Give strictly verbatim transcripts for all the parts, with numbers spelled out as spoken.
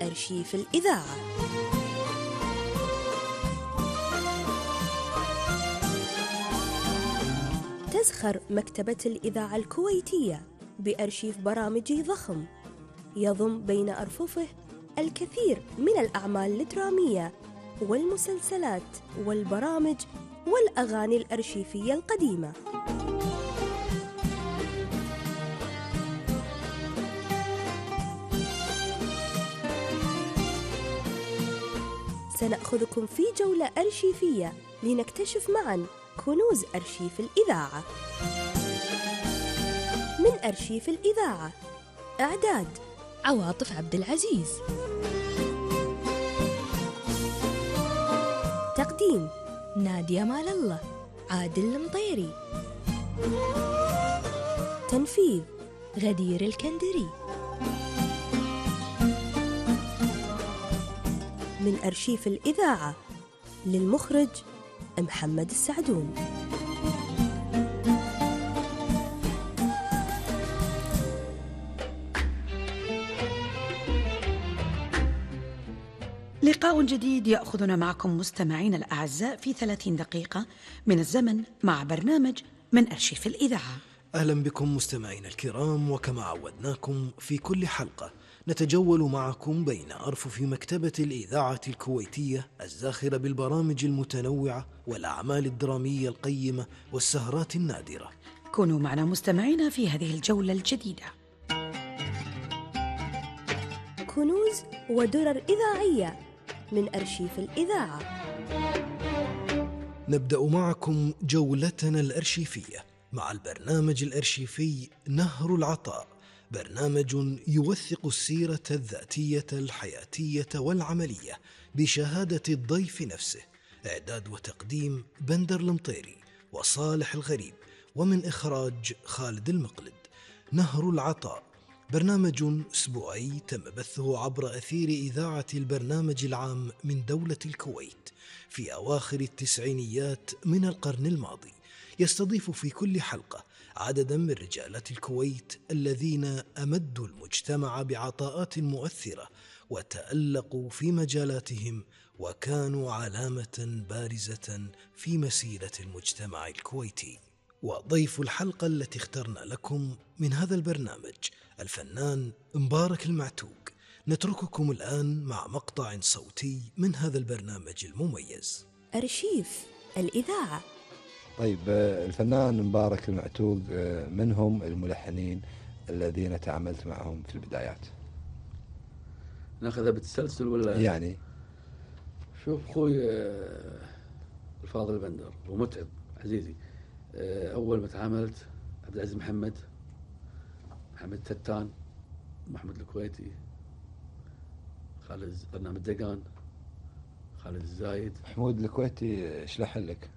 أرشيف الإذاعة. تزخر مكتبة الإذاعة الكويتية بأرشيف برامجي ضخم يضم بين أرففه الكثير من الأعمال الدرامية والمسلسلات والبرامج والأغاني الأرشيفية القديمة. سنأخذكم في جولة أرشيفية لنكتشف معاً كنوز أرشيف الإذاعة. من أرشيف الإذاعة: إعداد عواطف عبد العزيز، تقديم نادية مال الله، عادل المطيري، تنفيذ غدير الكندري. من أرشيف الإذاعة، للمخرج محمد السعدون. لقاء جديد يأخذنا معكم مستمعين الأعزاء في ثلاثين دقيقة من الزمن مع برنامج من أرشيف الإذاعة. أهلا بكم مستمعين الكرام، وكما عودناكم في كل حلقة نتجول معكم بين أرفف مكتبة الإذاعة الكويتية الزاخرة بالبرامج المتنوعة والأعمال الدرامية القيمة والسهرات النادرة. كونوا معنا مستمعين في هذه الجولة الجديدة. كنوز ودرر إذاعية من أرشيف الإذاعة. نبدأ معكم جولتنا الأرشيفية مع البرنامج الأرشيفي نهر العطاء، برنامج يوثق السيرة الذاتية الحياتية والعملية بشهادة الضيف نفسه. إعداد وتقديم بندر المطيري وصالح الغريب، ومن إخراج خالد المقلد. نهر العطاء برنامج أسبوعي تم بثه عبر أثير إذاعة البرنامج العام من دولة الكويت في أواخر التسعينيات من القرن الماضي. يستضيف في كل حلقة عددا من رجالات الكويت الذين أمدوا المجتمع بعطاءات مؤثرة وتألقوا في مجالاتهم وكانوا علامة بارزة في مسيرة المجتمع الكويتي. وضيف الحلقة التي اخترنا لكم من هذا البرنامج الفنان مبارك المعتوق. نترككم الآن مع مقطع صوتي من هذا البرنامج المميز. أرشيف الإذاعة. طيب، الفنان مبارك المعتوق من هم الملحنين الذين تعاملت معهم في البدايات؟ ناخذها بالتسلسل ولا يعني؟ شوف أخوي الفاضل بندر ومتعب عزيزي، أول ما تعاملت عبد العزيز محمد، محمد تتان، محمد الكويتي، خالد برنامج دقان، خالد الزايد. محمود الكويتي ايش لحن لك؟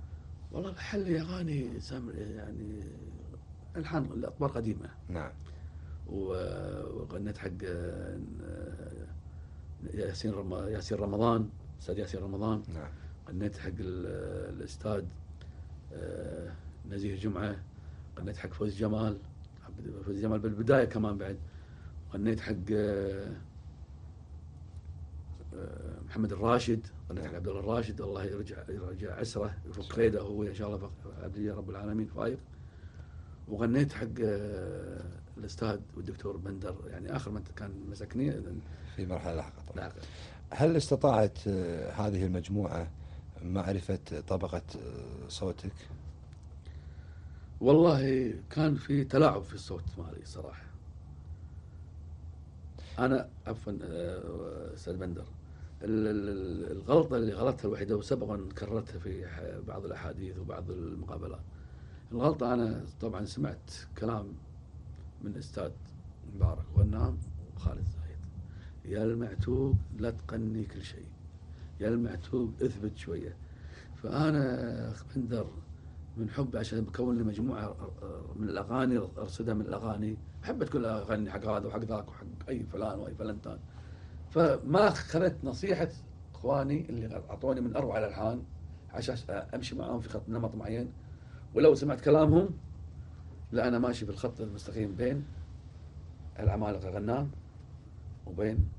والله لحن لي اغاني سامر يعني الحان الاطوار قديمه. نعم. وغنيت حق ياسين رم... ياسين رمضان، استاذ ياسين رمضان. نعم. غنيت حق الاستاذ نزيه جمعه، غنيت حق فوز جمال، فوز جمال بالبدايه كمان بعد. غنيت حق محمد الراشد، غنيت حق عبد الله الراشد، الله يرجع يرجع عسره يفك خيده هو ان شاء الله عبد الله رب العالمين فايق. وغنيت حق الاستاذ والدكتور بندر، يعني اخر من كان مسكني في مرحله لاحقه. هل استطاعت هذه المجموعه معرفه طبقه صوتك؟ والله كان في تلاعب في الصوت مالي صراحه. انا عفوا استاذ بندر، الغلطه اللي غلطتها الوحيده وسبقا كررتها في بعض الاحاديث وبعض المقابلات، الغلطه انا طبعا سمعت كلام من استاذ مبارك غنام وخالد زايد: يا المعتوق لا تقني كل شيء، يا المعتوق اثبت شويه. فانا بندر من حب عشان بكون لي مجموعه من الاغاني ارصدها من الاغاني، حبيت كل اغاني حق هذا وحق ذاك وحق اي فلان واي فلنتان، فما اخذت نصيحه اخواني اللي اعطوني من اروع الالحان عشان امشي معهم في خط نمط معين. ولو سمعت كلامهم، لا انا ماشي بالخط المستقيم بين العمالقه غنام وبين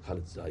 خالد زايد.